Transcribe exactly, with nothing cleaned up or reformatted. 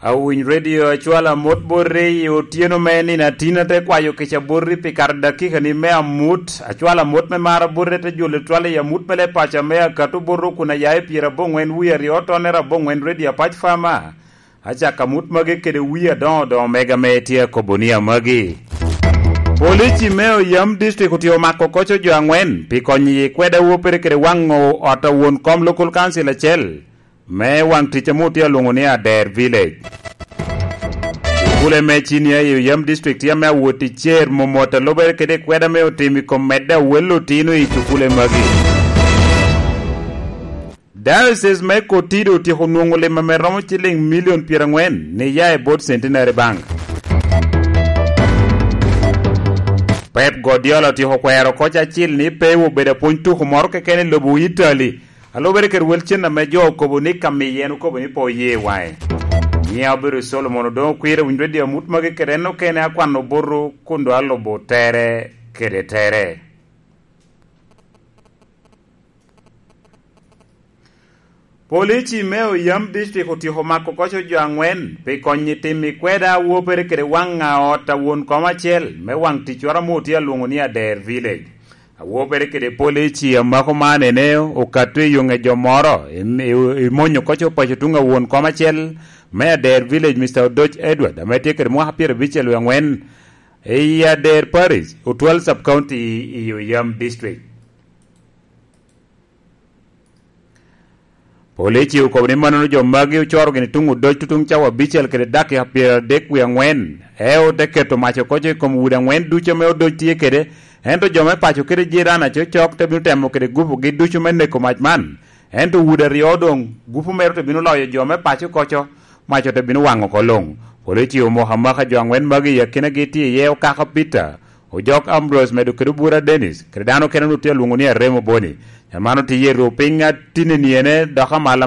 Awiny Radio acwalo amot bote i otyeno me nino atin, ate kwayo kica bote pi kare dakika ni me amut. Acwalo amot me mar abote, te jolo twal i amut me le paco me akato bote kun aya i pyera aboŋwen wie aryo tonnere aboŋwen Radio Apac Fama. Acako amut magi kede wie adoŋo doŋo mega me tye akobo ni amagi. Polici me Oyam District otye omako koco jo aŋwen pi konyo i kweda wopere kede waŋo ot a won kom Local Council acel me waŋ tic ame otye alwoŋo ni Ader Village. Cukule me cinia i Oyam District tye ame awot i cer momot a lubere kede kweda me otim i kom medde awel otino i cukule magi. Diocese me Kotido otyeko nwoŋo lim ame romo ciliŋ milion pyeraŋwen ni ya i bot Centenary Bank. Pep Guardiola otyeko kwero koc acil ni pe obedo apwony tuko moro keken i lobo Italy. A lubere kede wel cen ame jo okobo ni ka miye en okobo ni pe oye waŋe. Nyiŋa obedo Solomon Odoŋo Kwir, awinyo Radio amut magi kede en okene akwano buto kun doŋ alubo tere kede tere. Polici me Oyam District otyeko mako koco jo aŋwen pi konyo i tim i kweda a wopere kede waŋ a ot a won kom acel me waŋ ticwara ame otye alwoŋo ni Ader Village. Awopere kede polici a mako man ene okato i yoŋe jo moro, im-, i-, imonyo koco paco tuŋ a won kom acel me Ader Village, Mister Odoc Edward, ame tye kede mwaka pyerabicel wie aŋwen, i Ader Parish, Otwal Sub-County i Oyam District. Polici okobo ni mannono jo magi ocoro gini tuŋ Odoc tutuŋ cawa abicel kede dakika pyeradek wie aŋwen, eo te keto mac okoco i kom udi aŋwen ducu ame Odoc tye kede, ento jo me paco kede jiran aco cok te bino temo kede gupugi ducu me neko mac man. Ento udi aryo doŋ, gupu mere te bino loyo jo me paco koco, mac te bino waŋo oko luŋ. Polici omoko amaka jo aŋwen magi i akinagi tye iye Okaka Peter, Ojok Ambrose, medo kede Obura Dennis, kede dano okene onwoŋo tye alwoŋo ni Aremo Boni. Jan man otye i rwo piny atinni ene dok amala